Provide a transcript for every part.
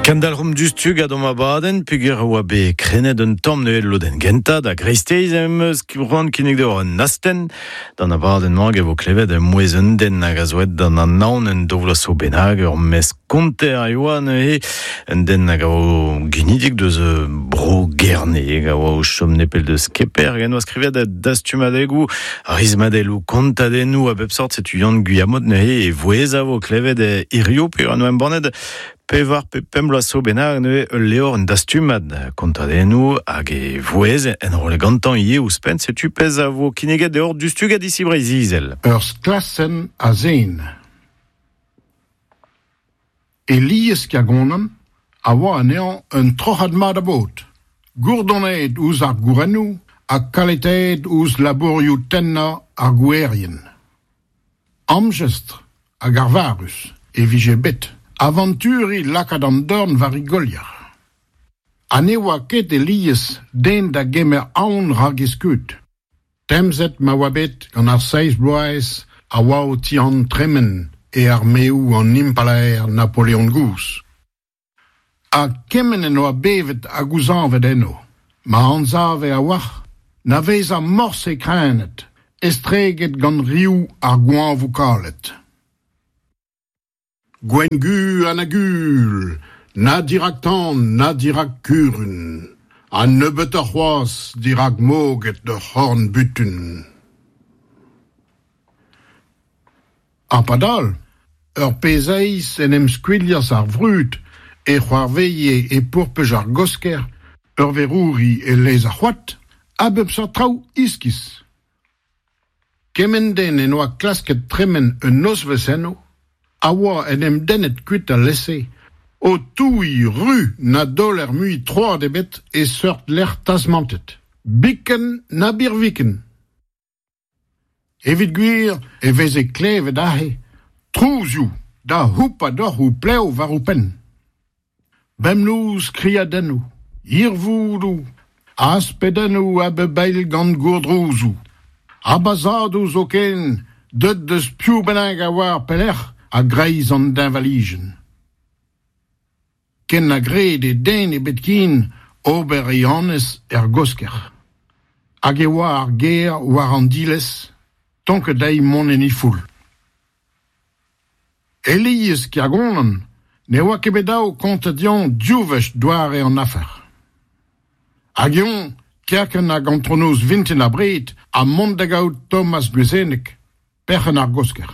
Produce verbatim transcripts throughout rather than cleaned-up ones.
Kendalc'homp diouzhtu gant hom abadenn peogwir oa bet krennet un tamm neuze lodenn gentañ da greisteiz em eus c'hoant kinnig deoc'h un astenn d'an abadenn-mañ e vo klevet mouezh un den hag a zo aet d'an anaon un daou vloaz zo bennak ur mestr konter a oa neuze un den hag a oa ginidik deus bro Gerne hag a oa o chom nepell deus Keper hag en doa skrivet dastumadegoù rismadelloù kontadennoù a bep sort setu Yann Gwilhamot neuze e vouezh a vo klevet hirio peogwir en doa embannet pevar pe pemp bloaz zo bennak neuze ul levr un dastumad kontadennoù hag e vouezh enrollet gantañ ivez ouzhpenn setu pezh a vo kinniget deoc'h diouzhtu gant Ici Breizh-Izel. Ur sklasenn a zen. Elies Kergonan a oa anezhañ un troc'had mat a baotr, gourdonet ouzh ar gourennoù ha kaletaet ouzh labourioù tennañ ar gouerien. Amjestr hag arvarus e vije bet avanturiñ lakaat an dorn war e golier. Ha ne oa ket Elies den da gemer aon rak e skeud. Temzet ma oa bet gant ar seizh bloaz a oa o tihan tremen e armeoù an impalaer Napoleon gozh. Ha kement en oa bevet ha gouzañvet eno, ma anzave a-walc'h na vezañ morse kreñvaet, estreget gant riv ar goañvoù kalet. Gwenn-gu ha na gul, na dirak tan, na dirak kurun, ha nebeutoc'h c'hoazh dirak moged ur c'horn-butun. Ha padal, ur pezh eizh en em skuilhas ar vrud e c'hoarveze e pourpej ar Gosker, ur verouri e lez ar c'hoad, a bep seurt traoù iskis. Kement den en oa klasket tremen un nozvezh eno, a oa en em dennet kuit alese, o touiñ ru na daoler mui troad ebet e seurt lec'h tasmantet. Biken na birviken. Evit gwir e veze klevet aze, trouzioù da houpañ deoc'h ho plev war ho penn. Bemnoz kriadennoù, hirvoudoù, aspedennoù a bep eil gant gourdrouzoù. Ha bazhadoù zoken, deut deus piv bennak a oar pelec'h a-greiz an deñvalijenn. Ken na grede den ebet ken ober e annez er Gosker. Hag e oa ar gêr war an dilez, tonket dezhi mont en he foull. Elies Kergonan ne oa ket bet dav kontañ dezhañ div wech doare an afer. Hag eñ, kerkent hag antronoz vintin abred, ha mont da gaout Thomas Gwezeneg, perc'henn ar Gosker.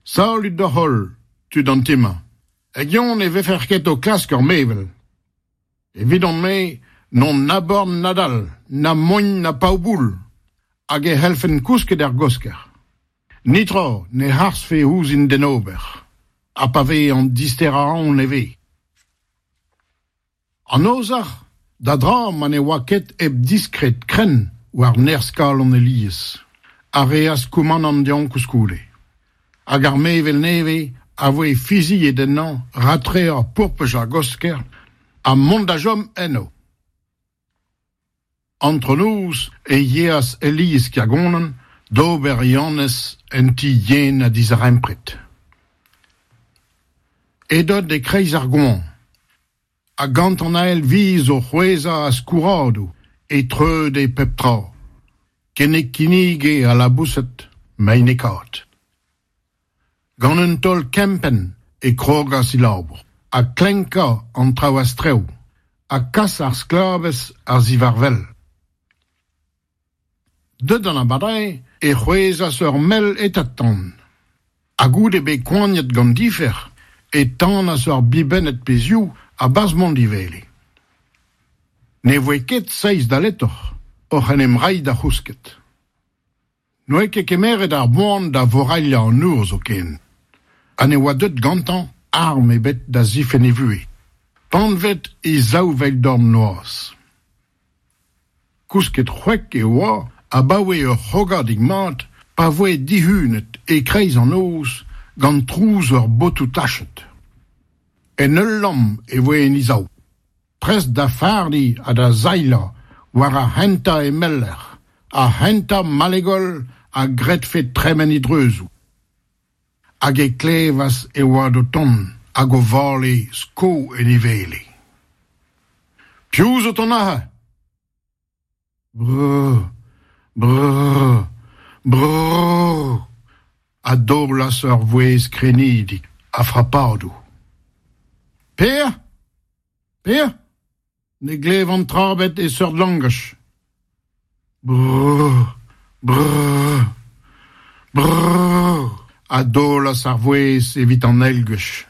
Salud deoc'h holl, tud an ti-mañ. Hag eñ ne vefec'h ket o klask ur mevel. Evidon-me n'on na born na dall, na mogn na pav-boull, hag e c'hellfen kousket er Gosker. Netra ne harzfe ouzhin d'en ober, ha pa ve an disterañ aon e ve. An ozhac'h, da dra ma ne oa ket hep diskred krenn war nerzh-kalon Elies, a reas koumanant dezhañ koulskoude. Hag ar mevel nevez a voe fiziet ennañ ratreañ pourpej ar Gosker ha mont da chom eno. Antronoz e yeas Elies Kergonan d'ober e annez en ti yen ha dizarempred. Edod e-kreiz ar goañv, ha gant an ael viz o c'hwezhañ a-skourradoù e treude pep tra, ken e kinnige al laboused meinekaat. Gant un taol kempenn e krogas e labour, ha klenkañ an traoù a-strew, ha kas ar sklabez a-ziwar-wel. Deut an abardaez e c'hwezhas ur mell etad-tan. Ha goude bet koaniet gant difer, e tanas ur bibennad pezhioù a-barzh mont d'e wele. Ne voe ket seizh daletoc'h oc'h en em reiñ da c'housket. N'oa ket kemeret ar boan da vorailhañ an nor zoken, ha ne oa deut gantañ arm ebet da zifenn e vuhez. Panvet e zaou vell-dorn noazh. Kousket c'hwek e oa abaoe ur c'hrogadig mat pa voe dihunet e-kreiz an noz gant trouz ur botoù tachet. En ul lamm e voe en e sav, prest da fardiñ ha da sailhañ war ar c'hentañ emeller, ar c'hentañ malegol a gredfe tremen e dreuzoù. Hag e klevas e oad o tont hag o vale sko en e wele. Piv zo ton aze? Brrr, brrr, brrr, a daolas ur vouezh krenidik a frapadoù. Per? Per? Ne glevan tra ebet e seurt langaj. Brrr, brrr, brrr, a daolas ar vouezh evit an eil gwech.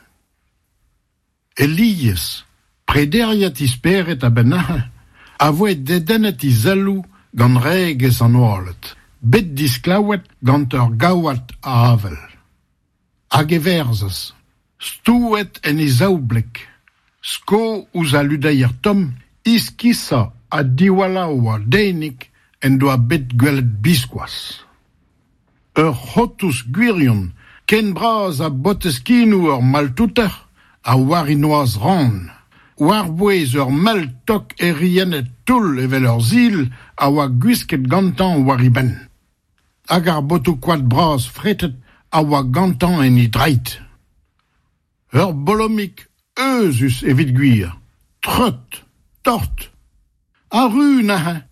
Elias, prederiet e spered a-benn neuze, a voe dedennet e selloù gant regez an oaled, bet disklaouet gant ur gaouad a avel. Hag e verzas, stouet en e zaoubleg, sko ouzh al ludeier tomm, iskisañ ha diwalaouañ denig en doa bet gwelet biskoazh. Ur c'hotous gwirion, ken bras ha botez-kinoù ur maltouter, a war e noazh ran. War-bouez ur mell tok eriennet toull evel ur sil a oa gwisket gantañ war e benn. Hag ar botoù-koad bras fretet a oa gantañ en e dreid. Ur bolomig euzhus evit gwir, treut, tort, ha ru neuze.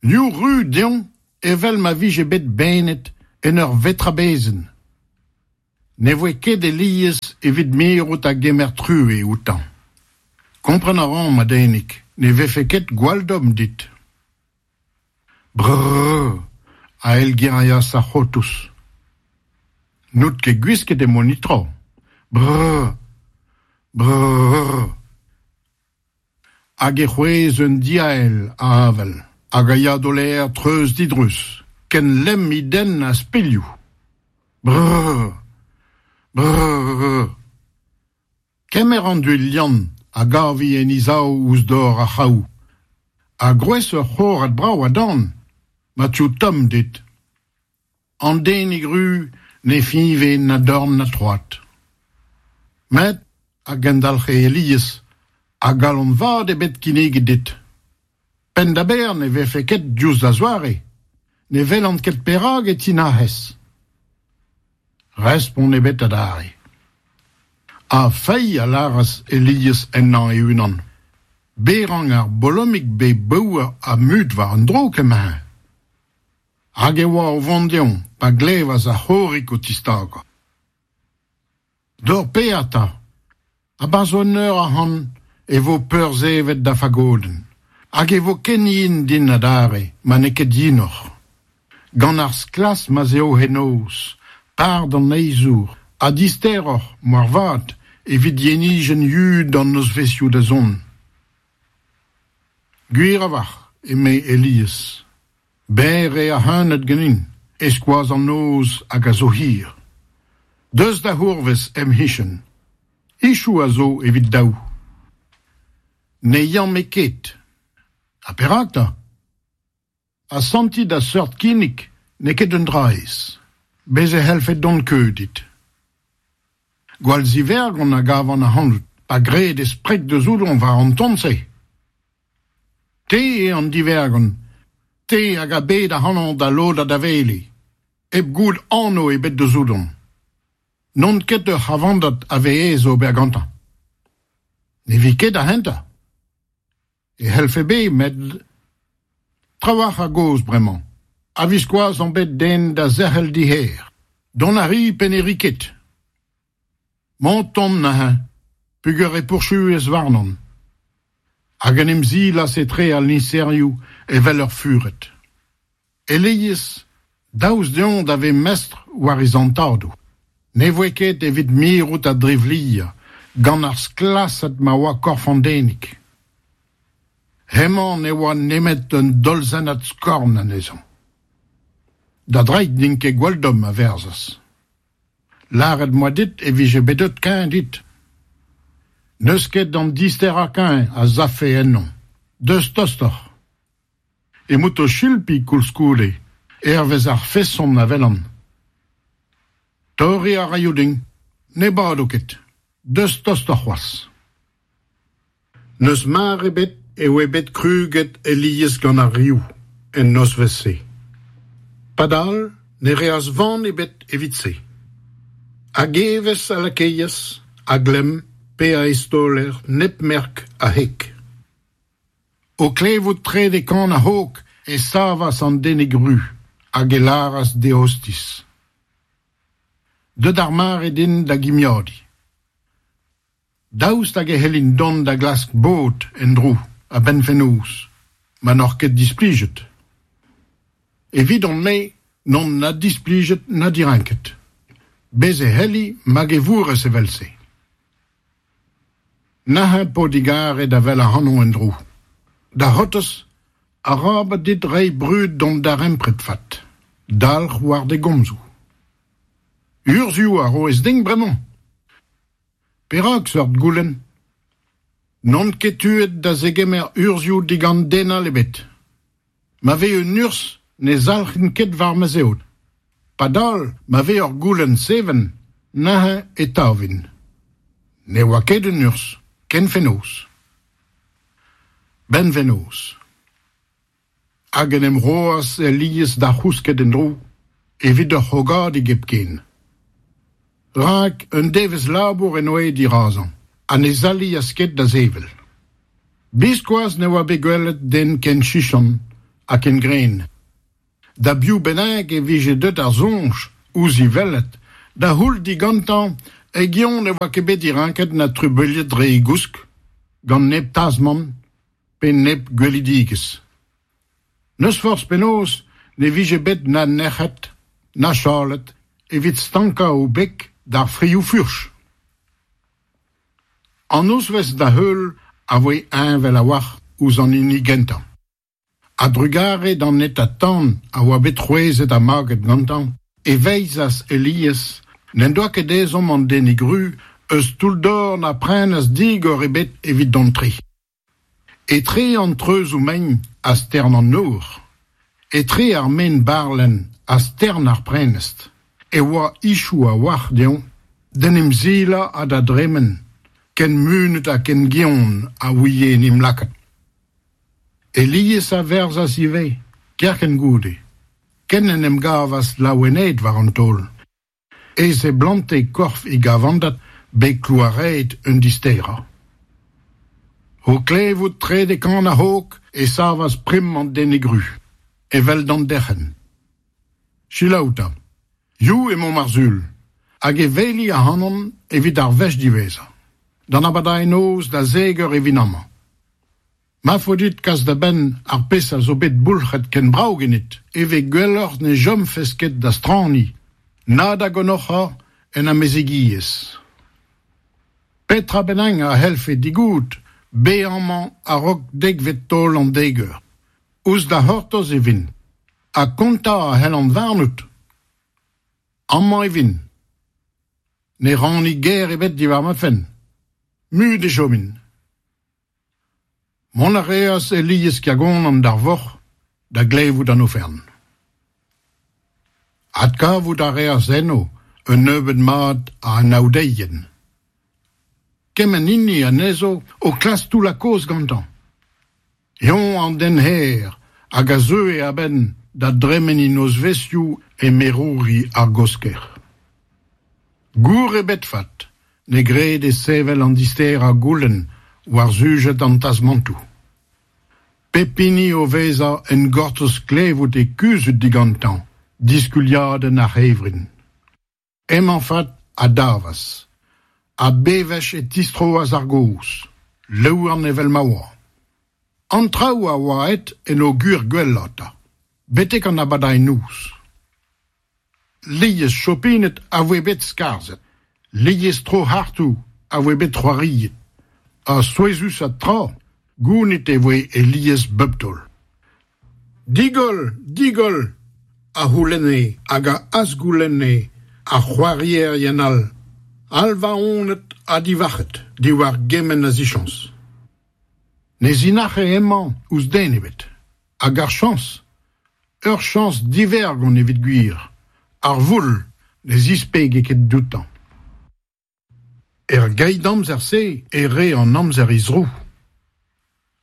Liv ru dezhañ evel ma vije bet benet en ur vetrabezenn. Ne voe ket Elias evit mirout a gemer truez outañ. Kompren a ran, ma denig, ne vefe ket gwall domm dit. Brrr, a eilgerias ar c'hotous. N'out ket gwisket e monitro. Brrr, brrr. Hag e c'hwezh un diael a avel, hag a ya d'o ler treuz didruz, ken lemm e denn a spilhoù. Brrr, brrr. Kemer an duilh Yann a gavi en he sav ouzh dor ar c'hraou. Ha gwrez ur c'horad brav a dan, ma teuo tomm dit. An denig ru ne fiñve na dorn na troad. Met, a gendalc'he Elias, a galon vat eo bet kinniget dit. Penn-da-benn ne vefe ket diouzh da zoare. Ne welan ket perak e tinac'hez. Respont ebet adarre. Ha feiz a lâras Elias ennañ e-unan. Bezañ ar bolomig bet baour ha mut war an dro kement. Hag e oa o vont dezhañ pa glevas ar c'horig o tistagañ. D'hor paeañ 'ta. A-barzh un eur ac'hann e vo peurzevet da fagodenn. Hag e vo ken yen din adarre, ma n'eo ket yenoc'h. Gant ar sklas ma'z eo henozh, par d'an neizhour, ha disteroc'h, moarvat, evit yenijenn yud an nozvezhioù da zont. Gwir a-walc'h, eme Elias. Berr eo ar c'heuneud ganin, e-skoaz an noz hag a zo hir. Deus da c'hourvez em c'hichen. Ichoù a zo evit daou. Ne yan-me ket. Ha perak 'ta? Asantiñ da seurt kinnig n'eo ket un dra aes. Bez' e c'hellfe dont keuz dit. Gwall zivergont a gavan ac'hanout, pa gredez preg deus ouzon war an ton-se. Te eo an divergont, te hag a bed ac'hanon da lodañ da wele, hep goût anv ebet deus ouzon. N'on ket ur c'havandad a ve aes ober gantañ. Ne vi ket ar c'hentañ. E c'hellfe bet, met trawalc'h a gaoz bremañ. A-viskoazh on bet den da zerc'hel d'e c'her. Dont a ri pe ne ri ket. Mont on neuze, peogwir e pourchuez warnon. Hag en em silas etre al liñserioù evel ur fured. Elias, daoust dezhañ da vezañ mestr war e zantadoù. Ne voe ket evit mirout a drivliañ, gant ar sklasad ma oa korf an denig. Hemañ ne oa nemet un dolzennad skorn anezhañ. Da dreid n'int ket gwall domm, a verzas. Lâret 'm boa dit e vije bet deut kuñv dit. N'eus ket an disterañ kuñv a savfe ennon. Deus tostoc'h. Emaout o chilpiñ koulskoude, hervez ar feson a welan. Torriñ a raio din, ne bado ket. Deus tostoc'h c'hoazh. N'eus mar ebet e oa bet krouget Elias gant ar riv en nozvezh-se. Padal ne reas van ebet evit se. Hag evezh a lakaas, a glemm pe a eztaoler nep merk a heg. O klevout trede kan ar hog e savas an denig ru hag e lâras d'e ostiz. Deut ar mare din da gimiadiñ. Daoust hag e c'hellin dont da glask bod en-dro a-benn fenoz, ma n'oc'h ket displijet. Evidon-me n'on na displijet na direnket. Bez' e c'helli hag e vourrez evel-se. Neuze 'po digarez da wel ac'hanon en-dro. Da c'hortoz, arabat dit reiñ brud d'hon darempred vat. Dalc'h war da gomzoù. Urzhioù a roez din bremañ. Perak seurt goulenn ? N'on ket tuet da zegemer urzhioù digant den all ebet. Ma vez un urzh ne zalc'hin ket war ma zeod. Padal, ma vez ur goulenn seven, neuze e tavin. Ne oa ket un urzh, ken fenoz. 'Benn fenoz. Hag en em roas Elies da c'housket en-dro, evit ur c'hrogadig hepken. Rak un devezh labour en doa dirazañ, ha ne zaleas ket da sevel. Biskoazh ne oa bet gwelet den ken chichant ha ken gren. Da biv bennak e vije deut ar soñj ouzh e welet, da c'houll digantañ hag-eñ ne oa ket bet direnket na trubuilhet dre e gousk, gant nep tasmant pe nep gwelidigezh. N'eus forzh penaos ne vije bet na nec'het, na chalet, evit stankañ o beg d'ar frioù-furch. An nozvezh da heul a voe heñvel a-walc'h ouzh an hini gentañ. A-drugarez d'an hetañ tan a oa bet c'hwezet ha maget gantañ, e veizas Elies n'en doa ket ezhomm an denig ru eus toull-dor na prenestr digor ebet evit dont tre. Etre an treuzoù mein ha stern an nor, etre ar maen barlenn ha stern ar prenestr, e oa ichoù a-walc'h dezhañ d'en em silañ ha da dremen, ken munut ha ken gion a ouie en em lakaat. Elies a verzas ivez, kerkent goude, ken en em gavas laouenaet war an taol. E seblante korf e gavandad bet klouaraet un disterañ. O klevout trede kan ar hog e savas prim an denig ru, evel d'an derc'hent. Selaou 'ta, hiziv emaomp ar Sul, hag e weli ac'hanon evit ar wech diwezhañ. D'an abardaez-noz da zek eur e vin amañ. Ma faot dit kas da benn ar pezh a zo bet boulc'het ken brav ganit, e ve gwelloc'h ne chomfes ket da straniñ, na da gonnoc'hañ en amezegiezh. Petra bennak a c'hellfe digout, bez amañ a-raok dekvet taol an dek eur. Ouzh da c'hortoz e vin, ha kontañ a c'hellan warnout. Amañ e vin. Ne ranni ger ebet diwar ma fenn. Mut e chomin. Mont a reas Elies Kergonan d'ar vorc'h da glevout an oferenn. Adkavout a reas eno un nebeud mat a anaoudeien. Kement hini anezho o klask toullañ kaoz gantañ. Eñ an den her hag a zeue a-benn da dremen e nozvezhioù e merouri ar Gosker. Gour ebet 'vat ne grede sevel an disterañ goulenn war sujed an tasmantoù. Pep hini o vezañ en gortoz klevout e kuzhut digantañ diskuliadenn ar c'hevrin. Hemañ 'vat a davas, ha bewech e tistroas ar gaoz, louarn evel ma oa. An traoù a oa aet en o gwir gwellañ 'ta, betek an abardaez-noz. Lies chopined a voe bet skarzhet, lies tro-c'hartoù a voe bet c'hoariet, ha souezhusat tra, gounit e voe Elies bep taol. Digoll, digoll, a c'houlenne hag a azgoulenne ar c'hoarierien all, alvaonet ha divarc'het diwar gement a zichañs. Ne zinac'he hemañ ouzh den ebet, hag ar chañs, ur chañs divergont evit gwir, ar voul ne zispege ket dioutañ. Er geit-amzer-se e rae an amzer he zro.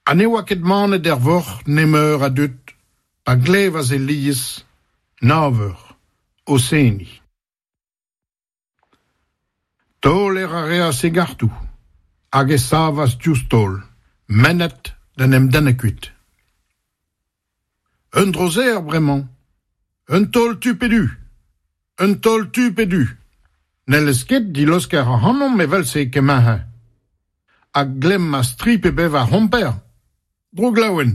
Ha ne oa ket manet er vorc'h nemeur a dud pa glevas Elies nav eur o seniñ. Taoler a reas e gartoù, hag e savas diouzh taol, mennet d'en em dennañ kuit. Un dro serr bremañ, un taol tu pe du, un taol tu pe du. N'hellez ket dileuskel ac'hanomp evel-se kement-se. A glemmas tri pe bevar c'homper, drouglaouen,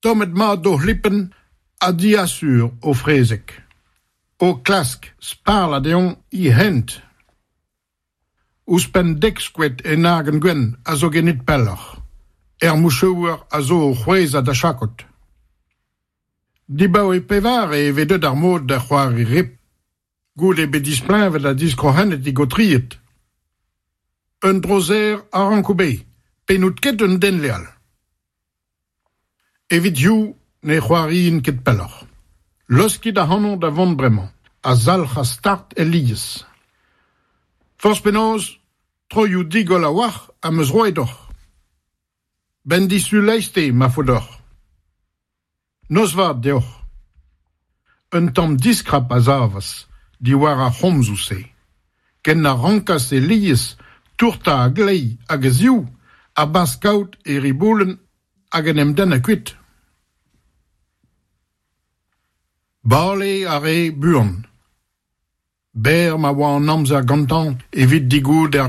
tommet mat o c'hlipenn ha diasur o frezeg. O klask sparlañ dezhañ e hent. Ouzhpenn dek skoed en argant gwenn a zo ganit pelloc'h. Er mouchouer a zo o c'hwezhañ da chakod. Dibaoe pevare e vez deuet ar mod da c'hoari rip. Goude bet displeñvet ha diskroc'henet e gaotried. Un dro serr a ranko bezañ, pe n'out ket un den leal. Evit hiziv ne c'hoariin ket pelloc'h. Laoskit ac'hanon da vont bremañ, a zalc'has start Elias. Forzh penaos, troioù digoll a-walc'h am eus roet deoc'h. 'Benn disul eizhteiz ma faot deoc'h. Noz vat deoc'h. Un tamm diskrap a savas diwar ar c'homzoù-se. Ken na rankas Elias tourtañ a-gleiz hag a-zehou a-barzh kaout e riboulenn hag en em dennañ kuit. Bale a rae buan. Berr ma oa an amzer gantañ evit degouezhout er